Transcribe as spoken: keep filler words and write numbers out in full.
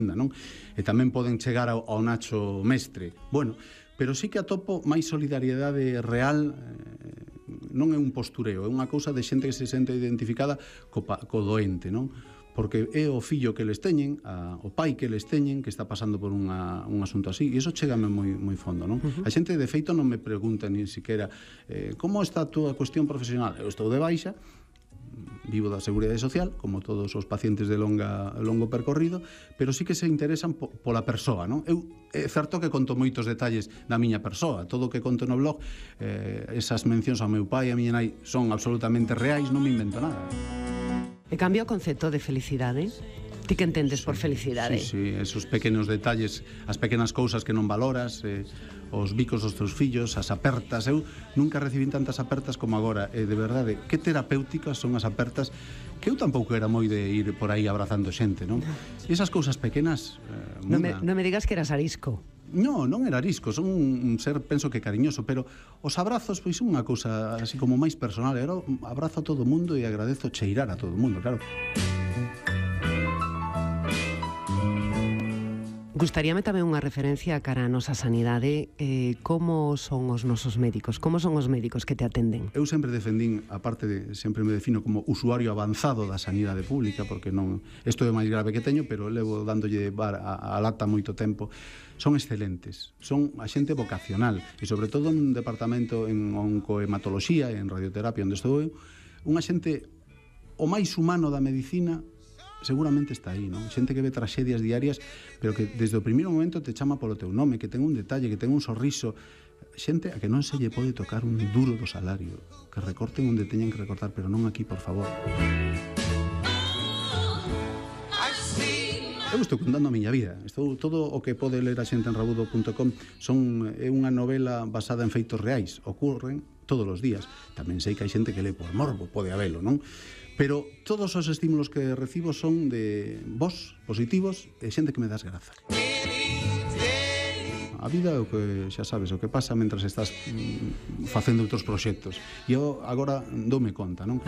non? E tamén poden chegar ao, ao Nacho Mestre. Bueno, pero sí que atopo máis solidariedade real, eh, non é un postureo, é unha cousa de xente que se sente identificada co, co doente, non? Porque é o fillo que les teñen, a, o pai que les teñen, que está pasando por unha, un asunto así, e iso chégame moi, moi fondo, non? Uh-huh. A xente, de feito, non me pregunta ni siquiera eh, como está a túa cuestión profesional? Eu estou de baixa, vivo da Seguridade Social, como todos os pacientes de longa, longo percorrido, pero sí que se interesan po, pola persoa, non? Eu, é certo que conto moitos detalles da miña persoa, todo o que conto no blog, eh, esas mencións ao meu pai e a miña nai son absolutamente reais, non me invento nada. E cambia o concepto de felicidade? Ti que entendes por felicidade? Sí, sí, esos pequenos detalles, as pequenas cousas que non valoras, eh, os bicos dos teus fillos, as apertas. Eu nunca recibín tantas apertas como agora, e de verdade, que terapéuticas son as apertas, que eu tampouco era moi de ir por aí abrazando xente, non? E esas cousas pequenas eh, non, me, non me digas que eras arisco. No, non era arisco, son un ser, penso que cariñoso, pero os abrazos pois son unha cousa así como máis personal. Eu abrazo a todo o mundo e agradezo cheirar a todo o mundo, claro. Gustaríame tamén unha referencia cara a nosa sanidade. eh, Como son os nosos médicos? Como son os médicos que te atenden? Eu sempre defendín, aparte de, sempre me defino como usuario avanzado da sanidade pública, porque non, isto é o máis grave que teño, pero levo dándolle bar a, a lata moito tempo. Son excelentes, son a xente vocacional, e sobre todo nun departamento en oncohematoloxía e en radioterapia onde estou eu, unha xente o máis humano da medicina seguramente está aí, non? Xente que ve traxedias diarias, pero que desde o primeiro momento te chama polo teu nome, que ten un detalle, que ten un sorriso. Xente a que non se lle pode tocar un duro do salario, que recorten onde teñen que recortar, pero non aquí, por favor. Eu estou contando a miña vida. Estou, todo o que pode ler a xente en rabudo punto com son, é unha novela basada en feitos reais. Ocurren todos os días. Tamén sei que hai xente que lee por morbo, pode habelo, non? Pero todos os estímulos que recibo son de vos, positivos, e xente que me das graza. A vida é o que, xa sabes, o que pasa mentras estás mm, facendo outros proxectos. E eu agora doume conta, non?